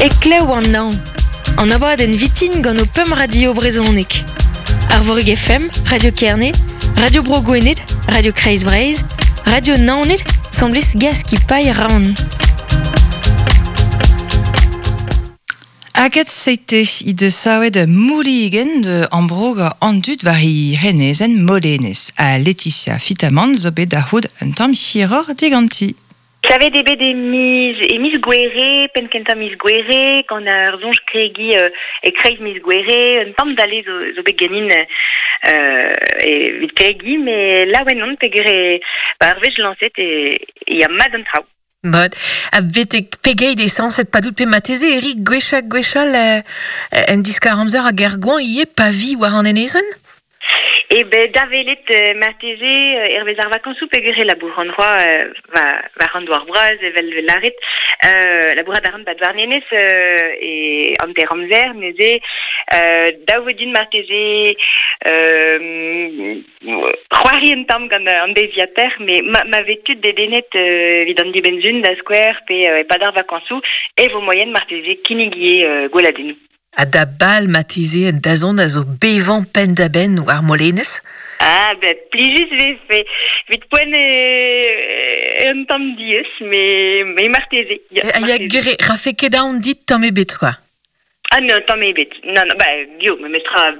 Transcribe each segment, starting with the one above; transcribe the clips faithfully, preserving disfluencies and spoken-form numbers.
E klev an naon. An abadenn vitin gant o pemp radio brezhoneg. Arvorig F M, Radio Kerne, Radio Bro Gwened, Radio Kreiz Breizh, Radio Naoned, semblez gaz ki paille ran. Aget seite i de saouet mouligen de ambroga an dud war i renezen molenez a Laetitia Fitamant zo bet da c'houd un tamm hiroc'h diganti. Savet eo bet e miz, e miz Gouere, penn kentañ miz Gouere, gant ar soñj kregi euh, e kreiz miz Gouere, un tamm dale zo, zo bet ganin euh, evit kregi, me laouen on peogwir e, ba, ar wech lañset e, e ya mat an traoù. Mod, a betek pegeit e sañset padout pe mateze Eric gwechall gwechall euh, en diskar amzer hag er gwañ ivez pa vi war an enezenn? E ben da velet euh, marteze euh, hervez ar vakañsoù peogwir e labour an droa euh, va, war an douar bras evel vel lâret euh, labourat a ran bat warnenez euh, e hanter amzer neuze euh, dav eo din marteze euh, c'hoari un tamm gant an deiziataer me ma, ma vez tud dedennet euh, evit an dibenn-sun da skouer pe euh, e-pad ar vakañsoù e vo moaien marteze kinnigie euh, gweladennoù. Ha da bal mateze en dazont a zo bevañ penn da benn war Molenez? Ah, ben, plijus vefe. Evit poent e, un tamm diaes, me, me marteze. Ya, Ha ya marteze. gere, rafe ket aon dit tamm ebet, quoi. Ah non, tamm ebet. Non, non, ba, gio, me mestra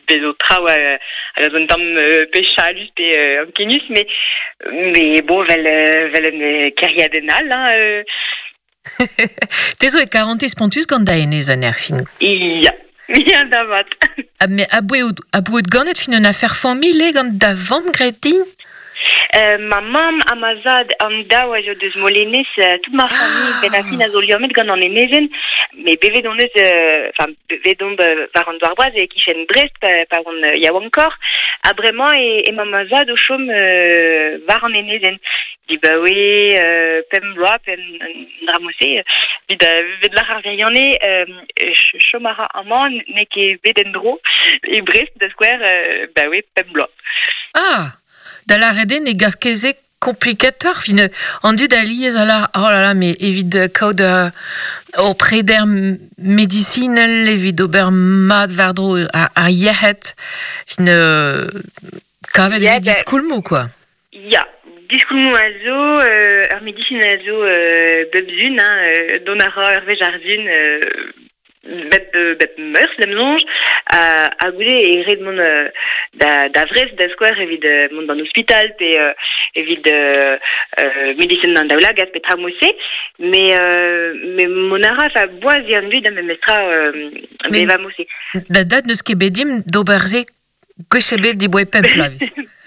bezo traoù euh, hag a zo un tamm euh, pe chalus pe euh, ankenus, mais, mais bon, vel, euh, vel un euh, kêriadenn all, hein, euh. Te zo e karantez spontus gant da enezenn er fin. Ya, ya da vat. Ha me aboe out, aboe out ganet fin un affaire familh eo gant da vamm graet din? Euh, ma mamm ha ma zad an daou a zo deus Molenez, euh, tout ma famille Ah. ben a fin a zo liammet gant an enezenn, me bevet on eus, euh, enfin, bevet on euh, war an douar bras e kichen Brest pa, pa on euh, yaouankoc'h, ha bremañ e, e ma ma zad o chom euh, war an enezenn. Di ba oe, euh, pemp bloaz, pemp un dra-mose, vid, euh, vid lar ar veriane, euh, ch-, chom a ra amañ n'eo ket bet en-dro, e Brest da skouer, euh, ba oe, pemp bloaz. Ah! Da lâret eo ne gav ket se komplikatoc'h, fin, an dud a liez a lar, oh là là, mais evit kaout, euh, ur preder m-, medisinel, evit ober mat war-dro ar, ar yec'hed, fin, euh, kavet Ya, evit da diskoulmoù, quoi. Ya, diskoulmoù a zo, euh, ur medisin a zo, euh, bep zun, hein, euh, dont a ra ur wech ar zun, euh, bep, euh, bep meurzh, d'am soñj, a, a goude e ret mont, euh, da, da Vrest, da skouer, evit, euh, mont d'an ospital, pe, euh, evit, euh, euh, medisin an daoulagad, pe tra mose, mais, euh, mais mont a ra, fa boaz eo an dud, memes tra, euh, Mais beva mose. Da dad n'eus ket bet dimp d'ober se gwech ebet diboe pemp bloaz.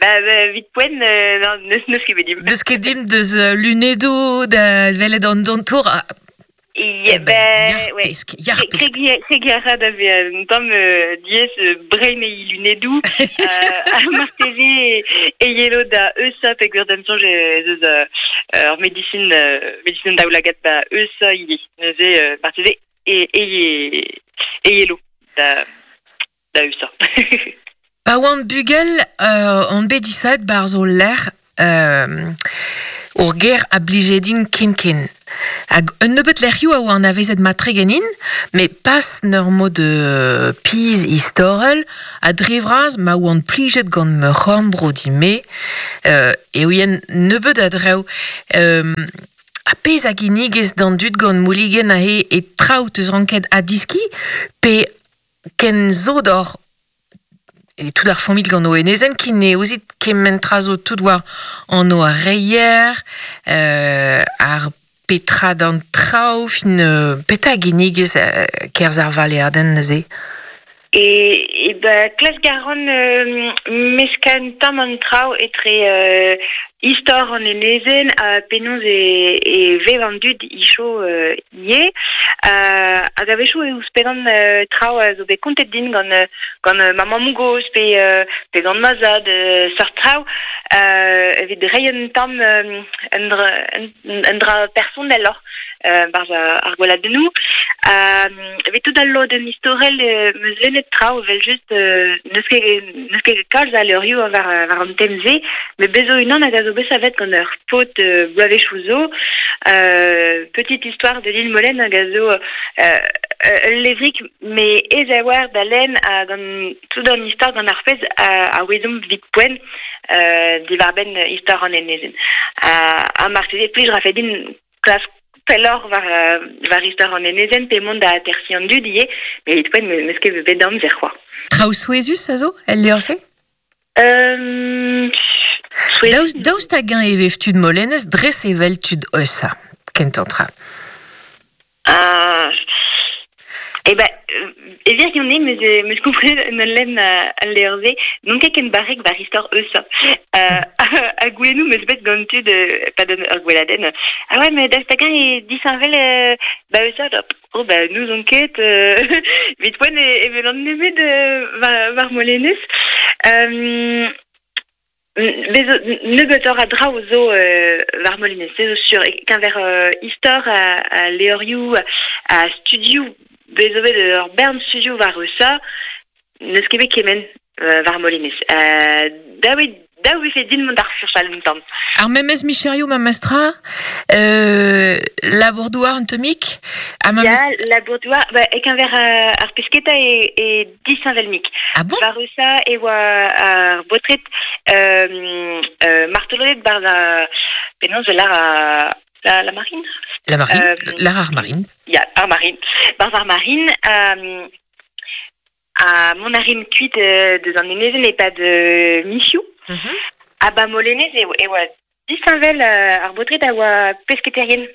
Ba, ba, vit poent, euh, non, n'eus, n'eus ket bet dimp. N'eus ket dimp deus, euh, lunedoù, da welet an dontour, ah, Ya, Eh ben, ben, yar ouais. pesk, yar Kregi- pesk. kregi-, kregi a ra da ve un tamm, euh, diaes, euh, brein e lunedoù, euh, ha marteze e, e yelo da Eusa peogwir d'am soñj ez eus, euh, ur medisin, euh, medisin daoulagad da Eusa ivez. Neuze, euh, marteze e, e, e yelo da, da Eusa. Pa oan bugel, euh, on bet disaet barzh o lec'h, euh, ur ger a blije din ken-ken. Hag un nebeut lec'hioù a oa anavezet matre ganin, me pas n'ur mod de piz istorel, a dre vras ma oan plijet gant ma c'horn-bro di-me, euh, e ouien nebeut a drev, euh, a pezh a ginnigez d'an dud gant mouligen a he e traoù teus ranket a diski, pe ken zo d'or e tout ar familh gant o enezenn ki ne ouzit kement tra zo tout war an o ar reier, euh, ar petra d'an traoù, fin, euh, petra ginnigez, euh, kerzh ar valeadenn neuze? E, e ba, klask a ran, euh, meskañ un tamm an traoù etre, euh, istor an enezenn ha penaos e, e vev an dud icho, euh, ivez. Euh, hag a-wechoù e ouzhpennan, euh, traoù a zo bet kontet din gant, euh, gant, euh, ma mamm-gozh pe, euh, pe gant ma zad, euh, seurt traoù, euh, evit reiñ un tamm, euh, un dra, un, un dra personnel lor, euh, barzh ar, ar gweladennoù. Euh, evet tout al lodenn istorel euh, meus lennet traoù vel just euh, neus ket neus ket kalz a leurioù war, war an temze, me bezo unan hag a zo bet savet gant ur paotr euh, bloavezhioù zo, euh, petite histoire de l'île Molène hag a zo euh, ul levrik me ez a war da lenn a gant tout an istor gant ar pezh a, a ouezomp vit poent euh, diwar-benn istor an enezen. A, a marteze plij ra fe din klask pelloc'h war, war istor an enezen pe mont da atersi an dud ivez, met evit poent meus ket bet amzer c'hoazh. Traoù souezhus a zo, el levr-se? Euh, Daoust, daoust hag-eñ e vef tud Molenez dres evel tud Eusa, kentañ tra. Ah, eh ben, e vir yon meus, meus komprenet un lenn al levr-se, n'on ket ken barrek war istor Eusa. Euh, a goulennoù meus bet gant tud, pa don ur gweladenn. Ah ouais, mais daoust hag-eñ e disheñvel euh, ba Eusa, da, oh ba nous on ket, euh, evit poent e, e vel an nemet euh, war, war Molenez. Euh, Bezo, nebeutoc'h a draoù zo euh, war Molenez, se zo sur, keñver euh, istor a, a levrioù, a studioù, bezo bet ur bern studioù war Eusa, n'eus ket bet kement euh, war Molenez. Euh, daou daou e fe din mont ar furchal un tamm. Ar memes micherioù ma mestra, euh, labour-douar un tomik, a ma Ya, mes- labour-douar, ba, e keñver euh, ar pesketa e, e disheñvel-mik. Ah bon? War Eusa e oa ar baotred euh, euh, martoloded bar la, penaos lar a, la, la marine? La marine, Euh, l'ar ar marine. Ya, ar marine. Barz ar marine, euh, a mont a rin kuit euh, deus an enezen e pad euh, michioù. Mm-hmm. A ba Molenez e, e oa disheñvel euh, ar baotred a oa pesketerien.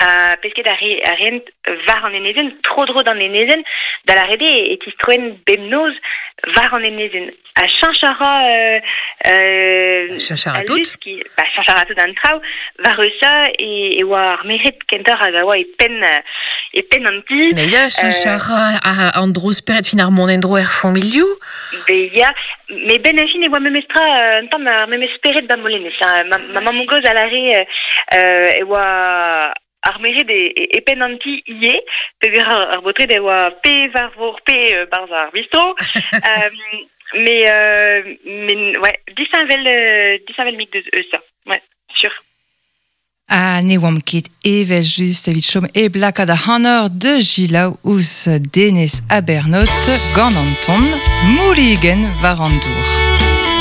A pesket a, re, a reent war an enezen, tro-dro d'an enezen, da la rede e, e tistroen bemnoz war an enezen. A cheñch a ra euh, euh, Cheñch a ra al tout. lusk, ba, cheñch a ra tout an traoù, war Eusa e, e oa ar merc'hed kentoc'h hag a oa e penn, e penn an ti. Mais ya, cheñch a ra a, an dro spered fin ar mont en-dro er familhoù. Be ya, me ben a fin e oa memestra un tamm ar memes spered ba Molenez. Hein. Ma, ma mamm gozh a lare euh, e oa ar merc'hed e, e, e penn an ti ivez, peogwir ar, ar baotred e oa pe war vor pe euh, barzh ar bistro. euh, mais, euh, mais ouais, disheñvel, euh, disheñvel mik deus Eusa, ouais, sûr. A ne oamp ket evel just evit chom e blakad ar c'hanor de Gilaou ouzh Denez Abernot gant Anton, Mouligen war an dour.